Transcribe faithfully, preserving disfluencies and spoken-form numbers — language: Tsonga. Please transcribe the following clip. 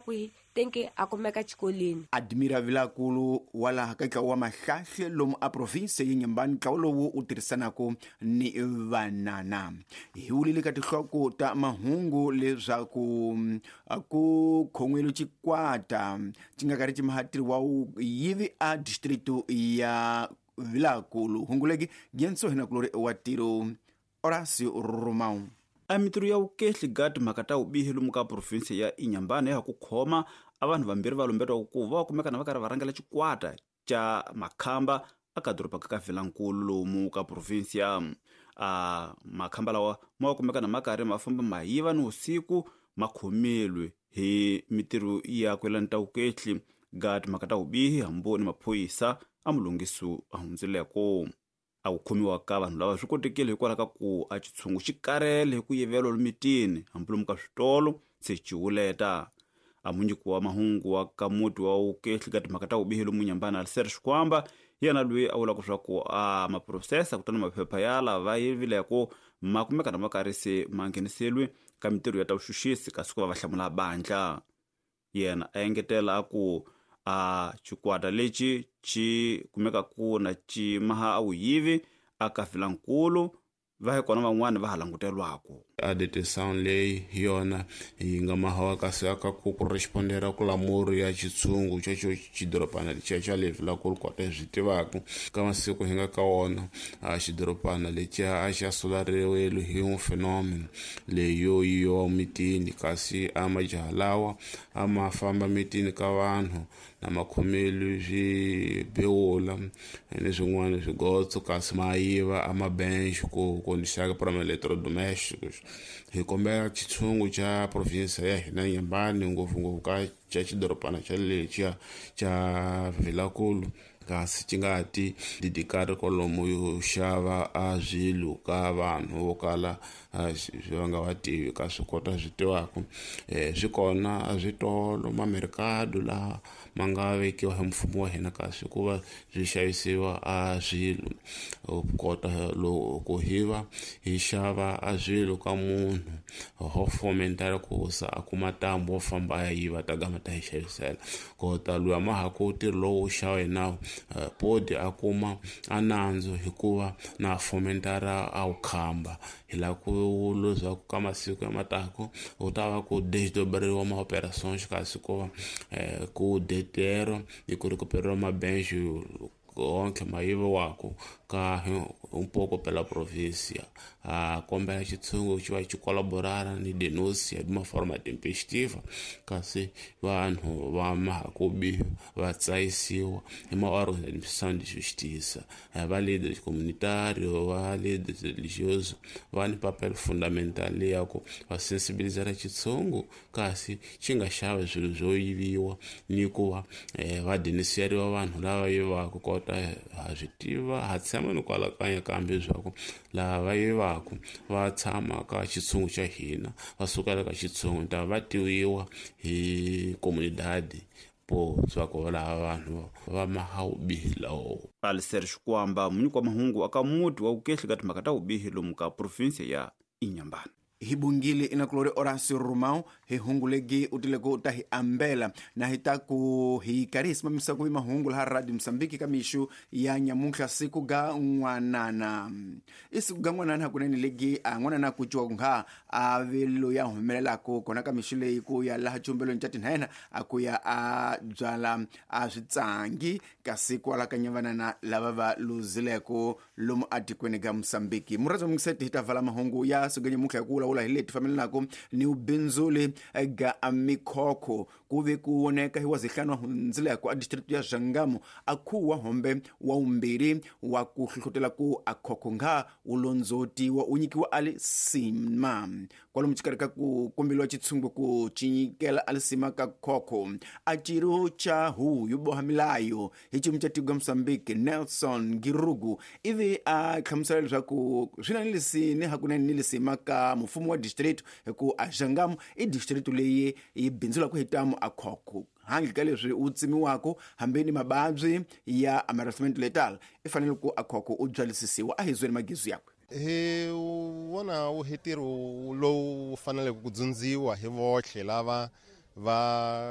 Kwihi tenke a kumeka xikolweni. Admira Vilakulu wa laha ka ntlawa wa Mahlahle lomu a province ya Nyambani, ntlawa lowu wu tirhisanaka ni vanana. Hi wulile ka tinhloko ta mahungu leswaku ku khon'wile xikwata xi nga karhi xi mahatiri wa yivi a district ya Vilakulu. Hunguleki Genso hina kulori wa tiro Horacio Romão. A mitirho ya vukehli ga timhaka ta vubihi lomu ka province ya Inhambane ya ku khoma a vanhu vambirhi va lumbetiwaka ku va kumeka na va karhi va rhangela xikwata xa makhamba aka doroba ka Vilankulu lomu ka province ya a makhamba lawa ma kumeka na ma karhi ma famba ma yiva ni vusiku ma khomelwe hi mitirho ya ku yelana ta vukehli ga timhaka ta vubihi hambi ni maphorisa a mulunghiso a hundzileko. A ku khomiwa ka vanhu lava swi kotekile hikwalaho ka ku a xitshungu xi karele hi ku yiveriwa lomitini hambi lomu ka switolo se xi wuleta. A munyiki wa mahungu wa ka muti wa vukehli ka timhaka ta vubihi lomu Nyambana Alistair Xikwamba hi yena loyi a vulaka leswaku a maphurosesa kutani maphepha ya lava yivileko ma kumeka na ma karhi se ma ngheniseriwe ka mitirho ya ta vuxuxisi kasi ku va va hlamula bandla. Yena a engetela a ku a xikwata lexi xi kumeka ku na xi maha a vuyivi aka Vilankulu va hi kona van'wani va ha langutelwaka. A detenção leyi hi yona yi nga mahawa kasi aka ku correspondera ku lamuri ya xitshungu xexo xidorobana lexiya xa le Vilankulu kota hi swi tivaka ka masiku hi nga ka wona a xidorobana lexiya a xa solariwile hi un fenômeno leyi yo yiwa mitini kasi a majaha lawa a ma famba mitini ka vanhu na makhomelo swi bewula ni swin'wana swigotso kasi ma yiva a mabench ku kondisaka para eletrodomésticos. Hi kombela xitshungu xa province ya hina Nyambani ngopfungopfu ka xa xidorobana xa lexiya xa Vilankulu kasi xi nga ti didikari kwalomu yo xava a swilo ka vanhu vo kala va nga va tivi ka swi kota swi tivaka. Swi kona a switolo mamerikado laha ma nga vekiwa hi mfumo wa hina kasi ku va swi xavisiwa a swilo kota loko hi va hi xava a swilo ka munhu ho fomentara ku sa a kuma ntambu wo famba a ya yiva ta gama ta hi xavisela kota luya ma ha ku ntirho lowu xava hi nawu podi a kuma a nandzu hikuva na fomentara a wu khamba hi lava ku leswaku ka masiku ya matako u ta va ku desdobreriwa ma-operations kasi ku va ku detero hi ku recuperiwa mabench onke ma yiviwaka ka un pouco pela província. A kombela xitshungu xi va xi colaborara ni denúncia de uma forma tempestiva kasi vanhu va mahakubi va tsayisiwa hi ma-órgãos de administração de justiça. Va líderes comunitários, va líderes religiosos va ni papel fundamental ya ku va sensibilizara xitshungu kasi xi nga xavi swilo swo yiviwa ni ku va va denunciariwa vanhu lava yivaka kota ha swi tiva ha tshama ni kwalakanya kambe leswaku lava va yivaka va tshama ka xitshungu xa hina va sukela ka xitshungu ta va tiviwa hi comunidade po swa lava vanhu va mahawubihi lawo. Alistair Xikwamba munyiki wa mahungu aka muti wa vukehli ka timhaka ta vubihi lomu ka province ya Inhambane. Hi bungile inakulori Horacio Romão hi hungulegi utileko ta hi ambela na hi ta ku hi karhi hi simamisa ku mahungu laha Radio Mozambique ka mixo ya nyamuntlha siku ga n'wanana. I siku ga n'wanana hakunene legi a n'wanana ku ciwa ku nga a velo ya humelelaka kona ka mixo leyi ku ya laha chumbelweni xa tinhena a ku ya a byala a switsangi kasi kwala ka nyavanana lava va luzileko lomu atikweni ga Mozambique. Murhandzi wa mungiseti hi ta vala mahungu ya siku ga nyamuntlha hi ku vulavula hi leti fambelanaka ni vubindzuli ga mikhokho ku ve ku voneka hi wa zihlanu wa hundzileko a district ya Zhangamu a khuwa hombe wa vumbirhi wa ku hlohlotela ku a khokho nga wu londzotiwa wu nyikiwa a lisima kwalomu xikarhi ka ku kombeliwa xitshungu ku cinyikela a lisima ka khokho a ciro xa huhu yo boha milayo hi xiyimo xa tiko Mozambique Nelson Girugu ivi a hlamusela leswaku swi na ni lisini hakunene ni lisima ka mfumo wa district hi ku a Zhangamu i district leyi yi bindzulaka hi tamu a khokho handle ka leswi wu tsemiwaka hambi ni mavabyi ya amarasment letal i fanele ku a khokho u byalisisiwa a hi zweni magizu yakwe. Hi vona wu ntirho lowu faneleke ku dzundziwa hi vohle lava va